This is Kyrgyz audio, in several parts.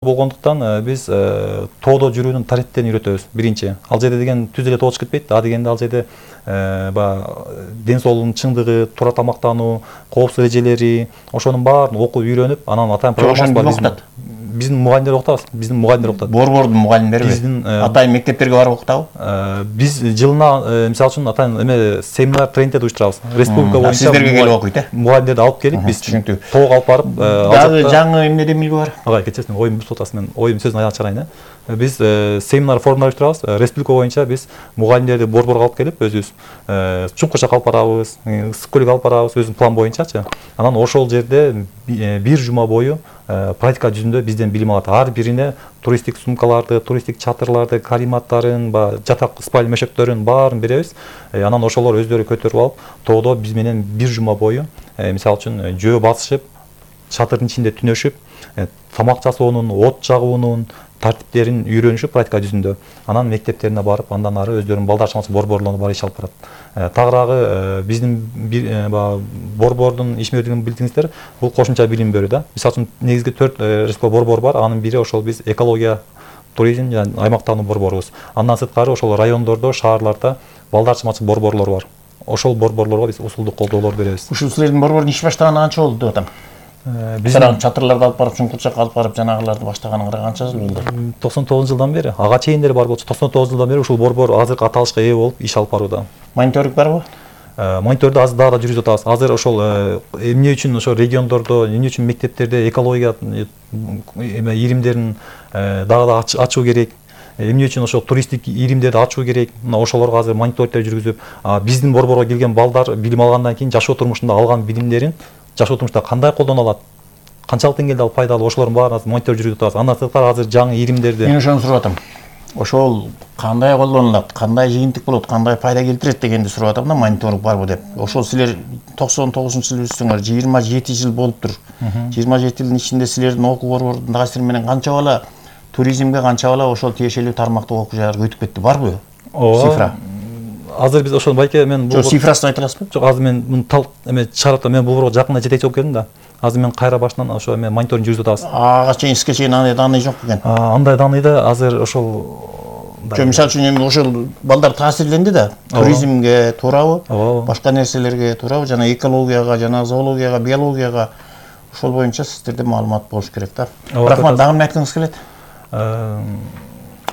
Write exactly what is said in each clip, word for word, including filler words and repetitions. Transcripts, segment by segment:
болгондуктан биз тоодо жүрүүнүн тарихтерин үйрөтөбүз. Биринчи, ал жерде деген түз эле тоо чыгып кетпейт. А дегенде ал жерде баягы ден соолугунун чыңдыгы, туура тамактануу, коопсуздук эрежелери, ошонун баарын окуп үйрөнүп, анан атайын программасы бар. Окутат. Биздин мугалимдер окутабыз. Биздин мугалимдер окутат. Борбордун мугалимдери биздин атайын мектептерге барып окутабы? Биз жылына мисалы үчүн атайын эме семинар, тренингдерди уюштурабыз. Республика боюнча сиздерге келип окуйт, э? Мугалимдерди алып келип, биз тоого алып барып, дагы жаңы эмнеде билги бар? Ага, кечесин оюм бүт атасыз, мен оюм сөзүн аягына чыгарайын, э? Биз семинар, форумдар уюштурабыз. Республика боюнча биз мугалимдерди борборго алып келип, өзүбүз Чуңкурча алып барабыз, Ысык көлгө алып барабыз, өзүбүздүн план боюнчачы. Анан ошол жерде бир жума бою практика жүзүндө бизден билим алат. Ар бирине туристтик сумкаларды, туристтик чатырларды, карематтарын, жатак спальня мешөктөрүн баарын беребиз. Анан ошолор өздөрү көтөрүп алып, тоодо биз менен бир жума бою, мисалы үчүн жөө басышып, чатырдын ичинде түнөшүп, тамак жасоонун, от жагуунун тартиптерин үйрөнүшүп практика жүзүндө. Анан мектептерине барып, андан ары өздөрүнүн балдар чамасы борборлоруна барып иш алып барат. Тагыраагы биздин борбордун ишмердигин билдиңиздер, бул кошумча билим берүү да. Мисалы үчүн негизги төрт республика борбор бар, анын бири ошол биз экология, туризм жана аймактануу борборубуз. Андан сырткары ошол райондордо, шаарларда балдар чамасы борборлор бар. Ошол борборлорго биз усулдук колдоолор беребиз. Ушул силердин борбордун иш баштаганы канча болду деп атам? Биздин чатырларды алып барып, Чуңкурчакка алып барып, жанагыларды баштаганыңарга канча жыл болду? токсон тогузунчу жылдан бери, ага чейиндери бар болчу, токсон тогузунчу жылдан бери ушул борбор азыркы аталышка ээ болуп иш алып барууда. Мониторинг барбы? Мониторду азыр дагы да жүргүзүп атабыз. Азыр ошол эмне үчүн ошо региондордо, эмне үчүн мектептерде экология эме иримдерин дагы да ачуу керек, эмне үчүн ошол туристтик иримдерди ачуу керек. Мына ошолорго азыр мониторингдер жүргүзүп, биздин борборго келген балдар билим алгандан кийин жашоо турмушунда алган билимдерин жашоо турмушта кандай колдоно алат, канчалык деңгээлде ал пайдалуу, ошолордун баарын монитор жүргүзүп атабыз. Андан сырткары азыр жаңы иримдерди. Мен ошону сурап атам. Ошол кандай колдонулат, кандай жыйынтык болот, кандай пайда келтирет дегенди сурап атам да, мониторинг барбы деп. Ошол силер токсон тогузунчу жылы үзсөңөр, жыйырма жети жыл болуптур. жыйырма жети жылдын ичинде силердин окуу борборунун дагы силер менен канча бала туризмге, канча бала ошол тиешелүү тармактык окуу жайларга өтүп кетти, барбы? Цифра. Азыр биз ошол байке мен бул цифрасын айта аласызбы? Жок, азыр мен муну тал эме чыгарып атам. Мен бул борборго жакында жетекчи болуп келдим да. Азыр мен кайра башынан ошо эме мониторинг жүргүзүп атабыз. Ага чейин сизге чейин андай данный жок экен. Андай данныйды азыр ошол Жок, мисалы үчүн эми ошол балдар таасирленди да, туризмге туурабы, башка нерселерге туурабы, жана экологияга, жана зоологияга, биологияга ошол боюнча сиздерде маалымат болуш керек да. Рахмат, дагы эмне айткыңыз келет?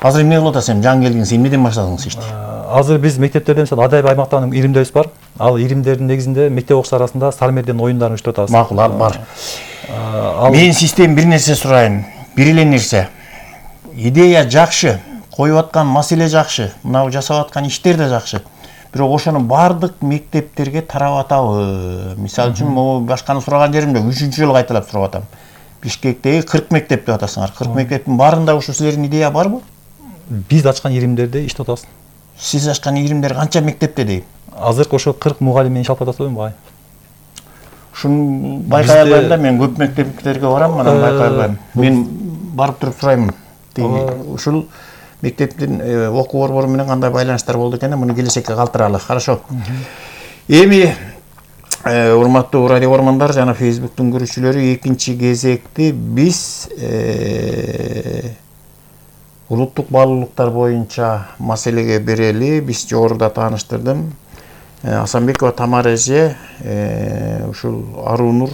Азыр эмне кылып атасыз, эми жаңы келдиңиз, эмнеден баштадыңыз ишти? Азыр биз мектептерде мисалы адайбай аймактагы иримдерибиз бар. Ал иримдердин негизинде мектеп окуучулар арасында Сармерден оюндарын уюштуруп атабыз. Макул, ал бар. Мен систем бир нерсе сурайын. Бир эле нерсе. Идея жакшы, коюп аткан маселе жакшы, мына жасап аткан иштер да жакшы. Бирок ошону бардык мектептерге тарап атабы. Мисалы үчүн могу башканы сураган жеримде үчүнчү жолу кайталап сурап атам. Бишкектеги кырк мектеп деп атасыңар. кырк мектептин баарында ушу силердин идея барбы? Биз ачкан иримдерде иштеп атабыз. Сиз ачкан иримдер канча мектепте дейм? Азыркы ошо кырк мугалим менен иш алып атасызбы багы? Ушуну байкай албайм да, мен көп мектептерге барам, анан байкай албайм. Мен барып туруп сурайм. Ушул мектептин окуу борбору менен кандай байланыштар болду экен, муну келечекке калтыралы. Хорошо. Эми урматтуу радио көрөрмандар жана Facebook'тун көрүүчүлөрү, экинчи кезекти биз улуттук баалуулуктар боюнча маселеге берели. Биз жогоруда тааныштырдым. Асанбекова Тамара эже ушул Аруу-Нур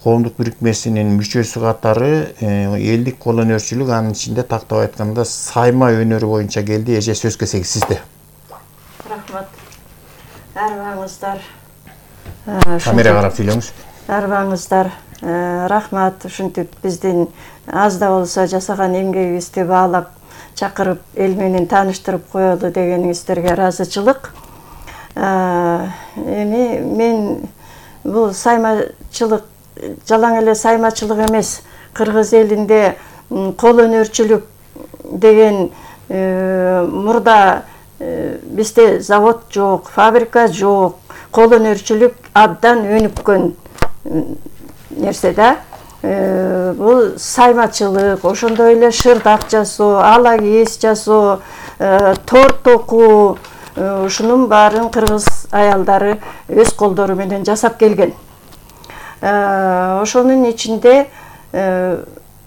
коомдук бирикмесинин мүчөсү катары элдик кол өнөрчүлүк, анын ичинде тактап айтканда сайма өнөрү боюнча келди. Эже, сөз кезеги сизде. Рахмат. Арбаңыздар. Камерага карап сүйлөңүз. Арбаңыздар. Рахмат, ушинтип биздин аз да болсо жасаган эмгегибизди баалап чакырып, эл менен тааныштырып коелу дегениңиздерге ыраазычылык. Эми мен бул саймачылык жалаң эле саймачылык эмес, кыргыз элинде кол өнөрчүлүк деген мурда бизде завод жок, фабрика жок, кол өнөрчүлүк абдан өнүккөн нерсе да. Бул саймачылык, ошондой эле шырдак жасоо, ала кийиз жасоо, торт токуу, ушунун баарын кыргыз аялдары өз колдору менен жасап келген. Ошонун ичинде